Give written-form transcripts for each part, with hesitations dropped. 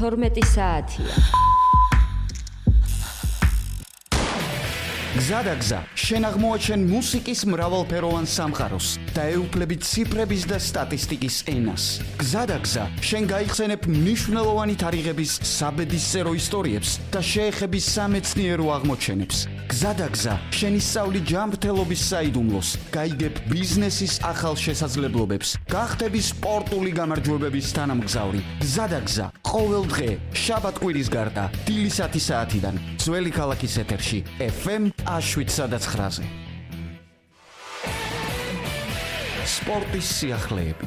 12 საათია. გზადაგზა, შენ აღმოაჩენ მუსიკის მრავალფეროვან სამყაროს და ეუფლები ციფრების და სტატისტიკის ენას. გზადაგზა, შენ გაიხსენებ მნიშვნელოვანი თარიღების საბედისწერო ისტორიებს და შეეხები სამეცნიერო აღმოჩენებს. გზადაგზა, შენ ისწავლი ჯანმრთელობის საიდუმლოს, გაიგებ ბიზნესის ახალ შესაძლებლობებს, გახდები სპორტული გამარჯვებების თანამგზავრი. გზადაგზა, ყოველ დღე, შაბათ-კვირის გარდა, დილის 10 საათიდან, ძველი ქალაქის ეთერში, FM 7-9-ზე. სპორტის სიახლეები.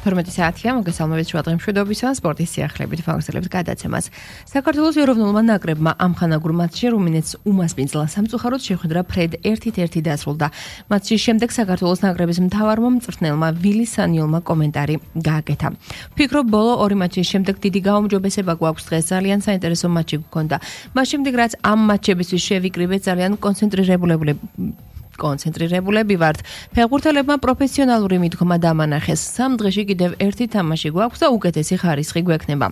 12 საათია, მოგესალმებით შუადღე მშვიდობისა, სპორტის სიახლეებით ვაგრძელებთ გადაცემას. საქართველოს ეროვნულმა ნაკრებმა ამხანაგურ მატჩში რუმინეთს უმასპინძლა სამწუხაროდ შეხვედრა ფრედ 1-1 დასრულდა. მატჩის შემდეგ საქართველოს ნაკრების მთავარმა მწვრთნელმა ვილი სანიოლმა კომენტარი გააკეთა. ვფიქრობ, ბოლო ორი მატჩის შემდეგ დიდი გაუმჯობესება გვაქვს დღეს, ძალიან საინტერესო მატჩი გქონდა. მას შემდეგ რაც ამ მატჩებისთვის შევიკრიბეთ, ძალიან კონცენტრირებულები ვართ. ფეხბურთელებმა პროფესიონალური მიდგომა დამანახეს. 3 დღეში კიდევ ერთი თამაში გვაქვს და უკეთესი ხარისხი გვექნება.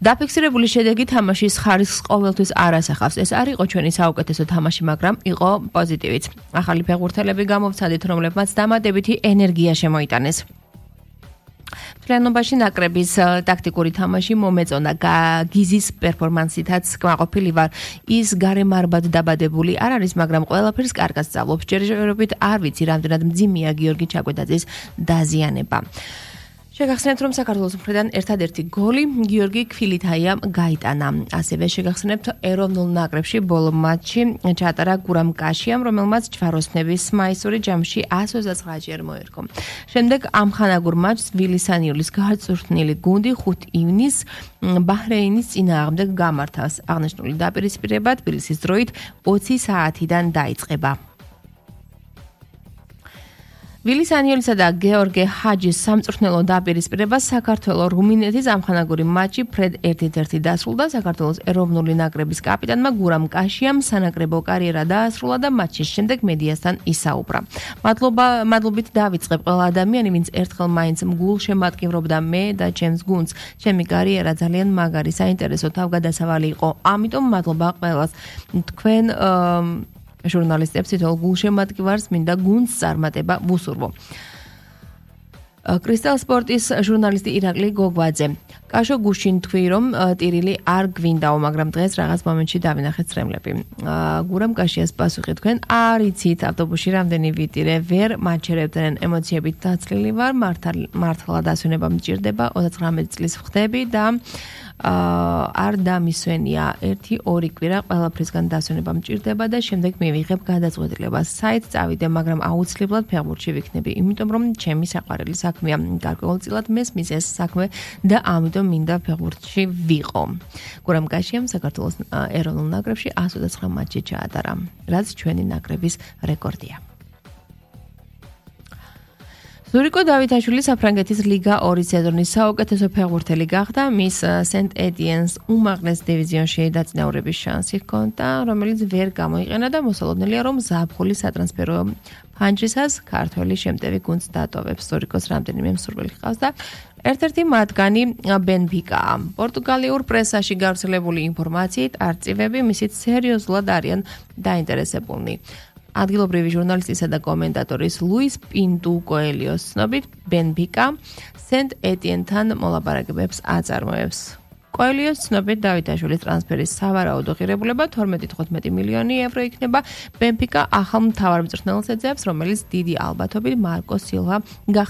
დაფიქსირებული შედეგი თამაშის ხარისხს ყოველთვის არ ასახავს. ეს არ იყო ჩვენი საუკეთესო თამაში, მაგრამ იყო პოზიტივიც. ახალი ფეხბურთელები გამოვცადეთ, რომლებმაც დამატებითი ენერგია შემოიტანეს. მთლიანობაში ნაკრების ტაქტიკური თამაში მომეწონა. გიზის პერფორმანსითაც კმაყოფილი ვარ. ის გარემარბად დაბადებული არ არის, მაგრამ ყველაფერს კარგად სწავლობს. ჯერჯერობით არ ვიცი, რამდენად მძიმეა გიორგი ჩაკვეტაძის დაზიანება. შეგახსენებთ, რომ საქართველოს მხრიდან ერთადერთი გოლი გიორგი ქვილითაიამ გაიტანა. ასევე შეგახსენებთ, ეროვნულ ნაკრებში ბოლო მატჩი ჩაატარა გურამ კაშიამ, რომელმაც ჯვაროსნების მაისური ჯამში 129 ჯერ მოერგო. შემდეგ ამხანაგურ მატჩს ვილი სანიოლის გარწმუნებული გუნდი 5 ივნისს ბაჰრეინის წინააღმდეგ გამართავს. აღნიშნული დაპირისპირება თბილისის დროით 20 საათიდან დაიწყება. ვილი სანიოლისა და გეორგე ჰაჯის სამწვრთნელო დაპირისპირებას საქართველოს რუმინეთის ამხანაგური მატჩი ფრედ 1-1 დასრულდა. საქართველოს ეროვნული ნაკრების კაპიტანმა გურამ კაშიამ სანაკრებო კარიერა დაასრულა და მატჩის შემდეგ მედიასთან ისაუბრა. მადლობით დავიწყებ ყველა ადამიანი, ვინც ერთხელ მაინც გულშემატკივრობდა მე და ჩემს გუნდს. ჩემი კარიერა ძალიან მაგარი, საინტერესო თავგადასავალი იყო. ამიტომ მადლობა ყველას. თქვენ ჟურნალისტებს თითოეულ გულშემატკივარს მინდა გუნდს წარმატება ვუსურვო. კრისტალ სპორტის ჟურნალისტი ირაკლი გოგვაძე. კაშო გუშინ თქვი, რომ ტირილი არ გვინდაო, მაგრამ დღეს რაღაც მომენტში დავინახეთ წრემლები. გურამ კაშიას პასუხი, თქვენ არ იცით ავტობუსში რამდენი ვიტირე, ვერ მაჩერებდნენ, ემოციებით დაცლილი ვარ, მართლა დასვენება მჭირდება, 39 წლის ვხდები და არ დამისვენია 1-2 კვირა ყველაფრისგან დასვენება მჭირდება და შემდეგ მივიღებ გადაწყვეტილებას. საით წავიდე, მაგრამ აუცილებლად ფეხბურთში ვიქნები, იმიტომ რომ ჩემი საყვარელი საქმეა. გარკვეულწილად მესმის ეს საქმე და ამიტომ მინდა ფეხბურთში ვიყო. გურამ კაშიამ საქართველოს ეროვნულ ნაკრებში 129 მატჩი ჩაატარა, რაც ჩვენი ნაკრების რეკორდია. ზურიკო დავითაშვილი საფრანგეთის ლიგა 2 სეზონის საუკეთესო ფეხბურთელი გახდა. მის სენტ ეტიენს უმაღლეს დივიზიონში დაწინაურების შანსი ჰქონდა, რომელიც ვერ გამოიყენა და მოსალოდნელია, რომ ზაფხული სატრანსფერო ფანჯრისას ქართველი შემტევი გუნდს დატოვებს. ზურიკოს რამდენიმე მსურველი ჰყავს და ერთ-ერთი მათგანი ბენფიკაა. პორტუგალიურ პრესაში გავრცელებული ინფორმაციით არწივები მისით სერიოზულად არიან დაინტერესებულნი. ადგილობრივი ჟურნალისტისა და კომენტატორის ლუის პინტუ კოელიოს ცნობით, ბენფიკა სენტ ეტიენთან მოლაპარაკებებს აწარმოებს. კოელიოს ცნობით, დავითაშვილის ტრანსფერის სავარაუდო ღირებულება 12-15 მილიონი ევრო იქნება. ბენფიკა ახალ მთავარ მწვრთნელს ეძებს, რომელიც დიდი ალბათობით მარკო სილვა გახდება.